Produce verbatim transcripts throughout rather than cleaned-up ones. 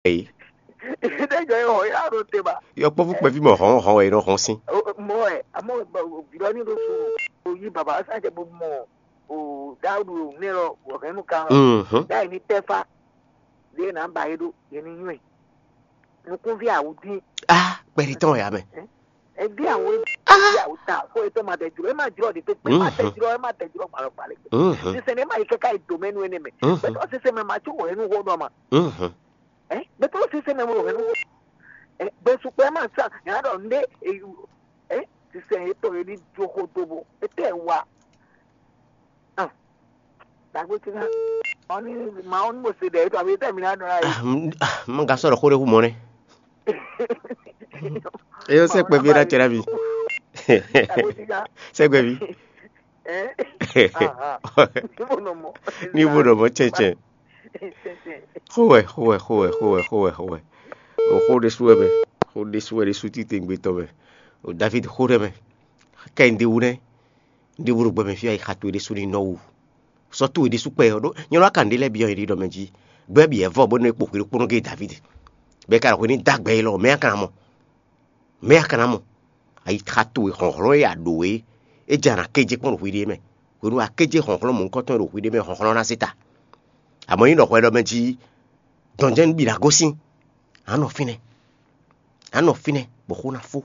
Eye. Ɖe jɔ yɔ ya ɖo te ba. Yɔkpɔ́vú kpɛví mɔ hɔn hɔn wɛ e nɔ hɔn sín. Mɔ ɛ amɔ vǐɖɔ ní ɖo so o yí baba ɔ́ sá jɛ bó mɔ o Dáwúdu nɛ lɔ wɔ hɛn nú kan lɔ. Mhm. Dá yìí ní tɛ́ fá ɖé nà ba yé ɖó yé ní nywɛ nukúnví àwùdí. Ah, kpɛɖi tɔn ya mɛ. Ẹbí àwọn ẹbí àwọn ta kó ètò máa tẹ̀jú ẹ máa jùlọ ní pépé máa tẹ̀jú ẹ máa tẹ̀jú ọgbà lọ́gbà lẹ́gbẹ̀ẹ́. Mhm. Sísè ní máa yí kẹ́kẹ́ ìdòmẹ́nu ẹni mẹ́. Mhm. Pẹ̀tọ́ sísè mẹ́ máa tún wọ̀ ẹnu wọ́n dọ́ ma. Mhm. Ẹ bẹ́tọ́ sísè mẹ́ wọ̀ ẹnu wọ́n. Ẹ bẹ́ẹ̀ sùpẹ́ máa sá yàrá dọ̀ ndé èyí. Ẹ sísè yẹn tó yẹ ní jókòó dóbo ètò ẹ̀ wá. Dàgbé ti ká ọ ní màá ní mo ṣe dẹ̀ ètò àbí tẹ̀mí náà nọ́ra yìí. Mo ga sọ̀rọ̀ kó lè hu mọ́ nɛ. Eyó sɛ kpɛví ɖe atsɛ ɖe abi. Sɛ kpɛví. Ní bó nɔ mɔ tsɛtsɛ. Xowɛ xowɛ xowɛ xowɛ xowɛ xowɛ. O xó ɖésú wɛ mɛ, xó ɖésú wɛ ɖésú títengbe tɔn mɛ. O David xó ɖɛ mɛ. Kɛ n ɖe wú nɛ, n ɖe wú ɖo gbɛ mɛ fí ayi xa towe ɖésú ní nɔ wú. Sɔ́ towe ɖésú kpɛ ɔ́ ɖó nyɛ lɔ kan ɖé lɛ́ɛ byɔ́ yě ɖɔ mɛ jí. Gbɛ́ bǐ ɛ́ vɔ bónú é kpo hwenu kpónɔ géé David. Bɔ é ka ɖo hwenu dó agbɛ élɔ́ mɛ a ka ná mɔ? Mɛ a ka ná mɔ? Ayi xa towe hlɔ̌nhlɔ́n e a ɖǒ é, é jɛ a nǎ kéjé kpɔ́n ɖo hwiɖée mɛ. Hwenu a kéjé hlɔ̌nhlɔ́n mɔ̌hunkɔtɔn e ɖo hwiɖée mɛ hlɔ̌nhlɔ́n ná zé ta. Amɔ̌ nyí ɖɔ hwɛ ɖɔ mɛ jí dɔn jɛ́n nú bǐ ná gosín. A nɔ fínɛ́. A nɔ fínɛ́ bɔ xó ná fó.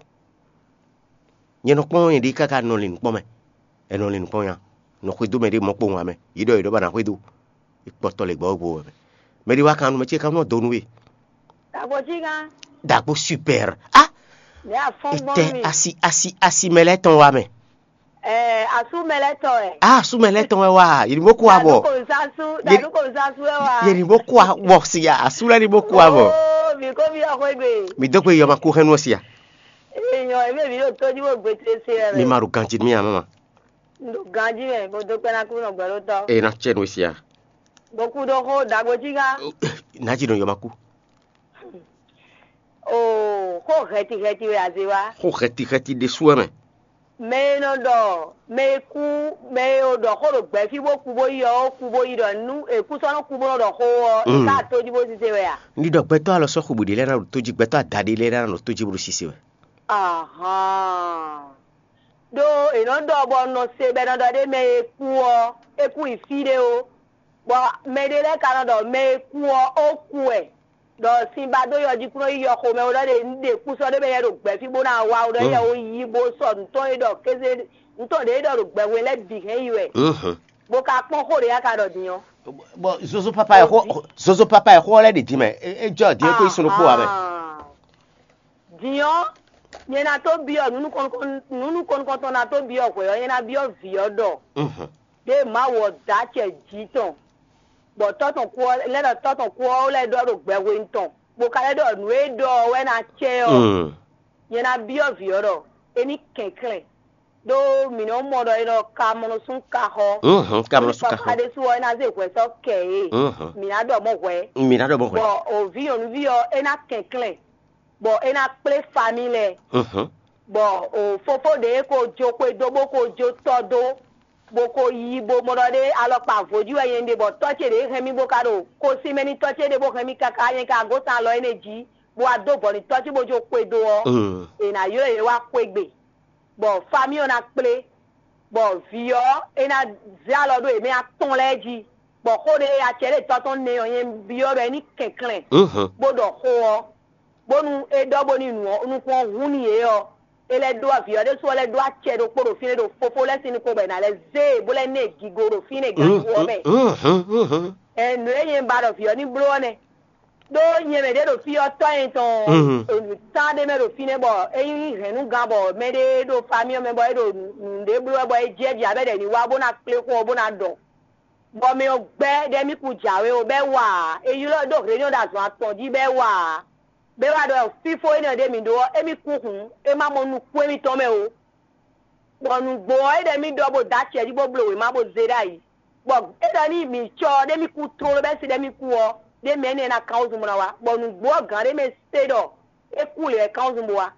Nyɛ nɔ kpɔ́n nyɛɖée káká nɔ lin nǔkpɔ́n mɛ. È nɔ lin nǔkpɔ́n nya. Nɔ xwedó mɛɖée mɔ̌ kpowun ǎ mɛ. Yě ɖɔ yě ɖɔ ba ná xwedó. È kpɔtɔ lě gbɔ́ gbo wɛ mɛ. Mɛɖée wá kan nú mɛ ce kan nɔ dó nú we. Dàgbò jí gán. Dàgbò super. Ah, Ní afɔ́n gbɔn etɛ mi. Asi asi asi mɛ lɛ́ɛ tɔn wá mɛ. Ɛɛ, asú mɛ lɛ́ tɔ ɛ. Ah, asú mɛ lɛ́ɛ tɔn wɛ wá. Yě ní bó kó abɔ. Dàdú kò ń sású, Yé- dàdú kò ń sású ɛ wá. Yě ní bó kó abɔ si ya. Asú lɛ́ɛ ní bó kó abɔ. Ooo, mi kó mi yɔ xwé gbe. Mi dó gbe yɔma kó hɛn nú si ya. Èèyàn èmi èmi yóò tójú wò gbé tésí ẹ Mi rẹ. Ma ɖo ganji mi ama ma. Ndo ganji mɛ, mo dó pẹ́ ná kú nɔ gbɛ ló tɔ. E na tsɛ nú si ya. Mo kú ɖó xó dàgbò jí gán. Na jí nɔ yɔma kú. Oo, xó hɛti hɛti wɛ azé wá. Xó hɛti hɛti ɖé sú ɛ mɛ. Mɛ e nɔ ɖɔ mɛ e kú, mɛ e ɖɔ xó ɖo gbɛ̌ fí bó kú bó yi ɔ́, ó kú bó yi ɖɔ nú è kú sɔ́ nɔ kú bó nɔ ɖɔ xó ɔ́, è Mm. Ká tójí bó zizé wɛ a? Ní ɖɔ gbɛtɔ́ alɔ sɔ́ xwebǔ ɖé lɛ́ɛ ná ɖo tójí, gbɛtɔ́ adaɖé lɛ́ɛ ná ɖo tójí bó ɖo sise wɛ. Ahán. Ɖó è nɔ ɖɔ bɔ un nɔ se bɔ è nɔ ɖɔ ɖé mɛ e kú ɔ́, é kú yi fí ɖé ó. Bɔ mɛ ɖé lɛ́ɛ ka nɔ ɖɔ mɛ e kú ɔ́, ó kú wɛ. Ɖɔ sin ba dó yɔ jí kún nɔ yi yɔ xomɛ ó ɖɔ ɖe un ɖe kú sɔ́ ɖé mɛ yɛ ɖo gbɛ̌ fí bó ná wá ó ɖɔ yɛ ó yí bó sɔ nǔtɔn e ɖɔ kéze nǔtɔn ɖě e ɖɔ ɖo gbɛhwe lɛ́ɛ bǐ hɛn yi wɛ. Mhm. Bó ka kpɔ́n xó ɖě ya ka ɖɔ din ɔ́. Bon, zozo papa ɛ xó zozo papa ɛ xó lɛ ɖi din mɛ. E jɔ din ko isun ɖokpó wa mɛ. Din ɔ́, nyɛ ná tó byɔ́ nǔ nukɔn nǔ nukɔntɔn ná tó byɔ́ hwɛ ɔ́, nyɛ ná byɔ́ vǐ ɔ́ ɖɔ Mhm. Ɖé Mawu ɔ́ dó acɛ jǐ tɔn, bɔ tɔ́ tɔn kú ɔ́ lɛ́ ɖɔ tɔ́ tɔn kú ɔ́ lɛ́ ɖɔ ɖo gbɛhwenu tɔn, bó ka lɛ́ ɖɔ nǔ e ɖɔ ɔ́ wɛ ná cɛ ɔ́, Mm. Nyɛ ná byɔ́ vǐ ɔ́ ɖɔ é ní kɛnklɛ́n, ɖó mǐ nɔ mɔ ɖɔ é nɔ ka mɔ nɔ sún ka xɔ. Mhm, ka mɔ nɔ sún ka xɔ. Papa ɖésú ɔ́, é ná zé hwɛ sɔ́ kɛ é. Mhm. Mǐ ná ɖɔ mɔ̌ hwɛ. Mǐ ná ɖɔ mɔ̌ hwɛ. Bɔ o vǐ nyɔ̌nuví ɔ́, é ná kɛnklɛ́n, bɔ é ná kplé famí lɛ́ɛ. Mhm. Bɔ o fofó ɖě ko jó xwedó bó ko jó tɔ́ dó, bó ko yí bó mɔ ɖɔ ɖé alɔkpa vo jí wɛ nyɛ ɖe, bɔ tɔ́ ce ɖě hɛn mì bó ka ɖo kosín mɛ n'i tɔ́ ce ɖe bó hɛn mì káká nyɛ ka gosín alɔ énɛ́ jí, bó wá dó vɔ̌ n'i tɔ́ ce bó jó xwedó ɔ́, Mm. È nǎ ylɔ́ yě wá xwégbe, bɔ famí ɔ́ ná kplé, bɔ vǐ ɔ́, é ná zé alɔ ɖó yě mɛ atɔn lɛ́ɛ jí, bɔ xó ɖé e acɛ ɖé tɔ́ tɔn nɛ ɔ́ nyɛ byɔ́ ɖɔ é ní kɛnklɛ́n, Mhm. Bó ɖɔ xó ɔ́, bónú é ɖɔ bónú nu ɔ́, nukún ɔ́ hún n'i yě ɔ́, é lɛ́ ɖó vǐ ɔ́ ɖésú ɔ́ lɛ́ ɖó acɛ ɖokpó ɖo fínɛ́ ɖo fofó lɛ́ɛ sín nukɔn bɔ è nǎ lɛ́ zé e bó lɛ́ ná ɛ gigo ɖo fínɛ́ ganxixo ɔ́ mɛ. Mhm, mhm. Ɛ nǔ e nyɛ ba ɖɔ vǐ ɔ́ ní bló ɔ́ nɛ́. Ɖó nyɛ mɛ ɖě ɖo fí ɔ́ tɔ́ nyɛ tɔn Mhm. Tán ɖé mɛ ɖo fínɛ́ bɔ é nyí hɛ̌nnugán bɔ mɛɖé ɖo famí ɔ́ mɛ bɔ é ɖo nǔɖé bló wɛ bɔ é jɛ jí abɛ ɖɛ ní wá bó ná kplé xó ɔ́ bó ná ɖɔ. Bɔ mɛ ɔ́ gbɛ́ ɖɔ émí kún jǎwe ó, bɔ é wa ǎ; è ylɔ́ ɛ dó hlenyɔ́ ɖo azɔn atɔn jí, bɔ é wa ǎ. Bɔ é wá ɖɔ fífó énɛ́ ɖě mǐ ɖó ɔ́, émí kún hǔn, é má mɔ nukún émítɔn mɛ ó. Bɔ nǔgbó ɔ́, é ɖɔ émí ɖɔ bó dó acɛ jí bó bló wěma bó zé ɖ'ayǐ. Bɔ é ɖɔ n'i mǐ cɔ ɔ́, ɖ'émí kú tlóló, bɔ é se ɖ'émí kú ɔ́, ɖ'é mɛ énɛ́ ná kán wúzun bó ná wá. Bɔ nǔgbó ɔ́ gǎn ɖé mɛ se ɖɔ é kú lě wɛ kán wúzun bó wá.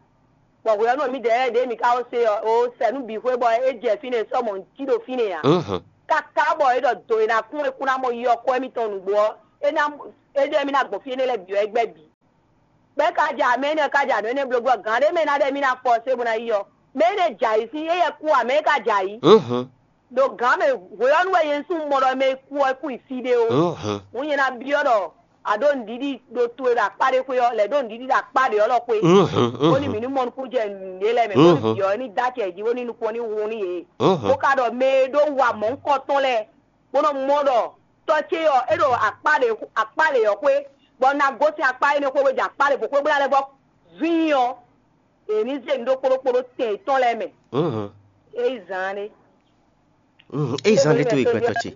Bɔ hwɛ ɔ́ nú mǐdɛɛ lɛ́ɛ ɖě mǐ ka ko se ɔ́, o sɛ nú bǐ xwé bɔ é jɛ fínɛ́ sɔ́ mɔ̌ cí ɖo fínɛ́ ǎ. Mhm. Káká bɔ é ɖɔ do e ná kún é kún ná mɔ yi ɔ́ kɔ émítɔn nǔgbó ɔ́, é ná é ɖɔ émí ná gbɔn fí énɛ́ lɛ́ɛ bǐ ɔ́ é gbɛ́ bǐ. Bɛ́ ka ja mɛ énɛ́ ka ja nǔ énɛ́ bló gbɔ gǎn ɖé mɛ ná ɖɛ mì ná fɔ se bó ná yi ɔ́, mɛ énɛ́ ja yǐ sín éyɛ́ kú ǎ, mɛ é ka ja yǐ. Ɖo gǎn mɛ hwe ɔ́ nú wɛ nyɛ un sú mɔ ɖɔ mɛ e kú ɔ́ é kú yi fí ɖé ó. Hǔn nyɛ ná byɔ́ ɖɔ a ɖó nǔɖiɖi ɖo to e ɖo akpá ɖé xwé ɔ́, lɛ̌ ɖó nǔɖiɖi ɖo akpá ɖě ɔ́ lɔ xwé, bónú mǐ ní mɔ nukúnjɛ nǔɖé lɛ́ɛ mɛ, bónú vǐ ɔ́ ní dó acɛ jí bónú nukɔn ní hun nú yě. Bó ka ɖɔ mɛ e ɖó wa mɔ̌hunkɔtɔn lɛ́ɛ bó nɔ mɔ ɖɔ tɔ́ ce ɔ́, é ɖo akpá ɖě akpá ɖě ɔ́ xwé, bɔ un ná gosín akpá énɛ́ xwé bó jɛ akpá ɖě bó xwé bó ná lɛ́ vɔ zín ɔ́, è ní zé nǔ ɖó kpóɖókpóɖó tɛn yětɔn lɛ́ɛ mɛ. É yi zaan ɖé. Mhm. Eyi zan ɖé to yi gbɛtɔ ce.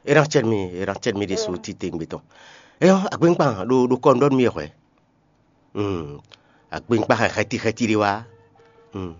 Eran cɛ mi eran cɛ mi ɖe so ti te gbetɔ. Eyɔ agbɛnkpan ɖo ɖo kɔ nɖɔ mi hwɛ. Mhm. Agbɛnkpan xɛ xɛti xɛti ɖe wa. Mhm.